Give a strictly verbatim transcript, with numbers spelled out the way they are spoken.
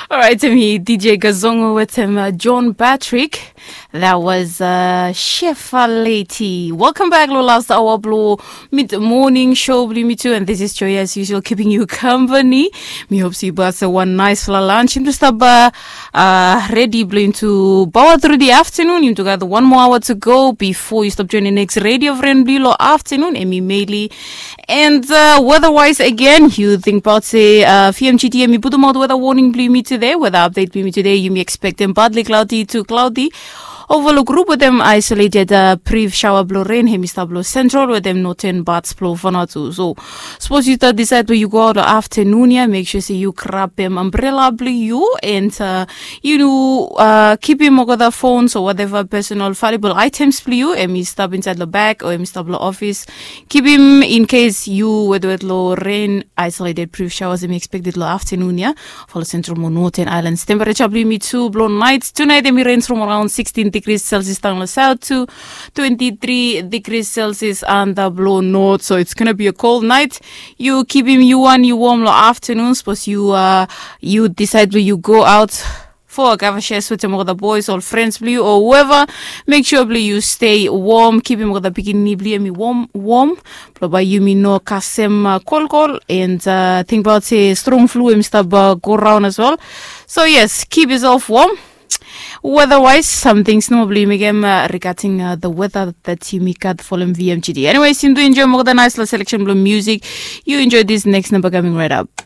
Alright, em i D J Gazongo wetem uh, John Patrick. That was uh, Shefa Leti. Welcome back lo last hour blo mid morning show blo mi too, and this is Joy as usual keeping you company. Mi hope se yu basa wan nice la lunch. Im tu stap uh, uh, ready blo into power through the afternoon. Im tu got one more hour to go before you stop joining next radio friend blo afternoon. Emi Meili. And uh, weather-wise again, yu tingbaot se uh, V M G T em i putumaot weather warning blong yumi today. Weather update blong yumi today, yumi expectem partly cloudy to cloudy. Overlook group wetem isolated uh, brief shower blo rain hem i stap lo central wetem northern parts blo Vanuatu. So suppose yu start decide where yu go out afternoon ya, make sure se yu grabem umbrella blo yu and uh, yu uh, kipim olgeta phones or whatever personal valuable items blo yu em i stap inside lo bag o em i stap lo office. Kipim in case yu wetwet lo rain, isolated brief showers em i expected lo afternoon ya. Fo lo central mo northern islands temperature blo yumi tu blo night tonight em i range from around sixteen degrees celsius down lo south to twenty-three degrees celsius anda blo north, so it's gonna be a cold night. Yu kipim yu wan yu warm lo afternoon suppose yu uh, yu decide blo yu go out for a cover share wetem olgeta boys or friends blo yu or whoever. Make sure blo yu stay warm, kipim olgeta pikinini blo yu em i warm warm blo bae yumi no kasem uh, kolkol and uh, tingbaot se strong flu em i stap uh, go raon as well. So yes, keep yourself warm. Weather-wise, some things nomo blo yu mekem uh, regarding uh, the weather that yumi gat folem V M G T. Anyways, yumi tu enjoy olgeta nice la selection blo music. You enjoy this next number coming right up.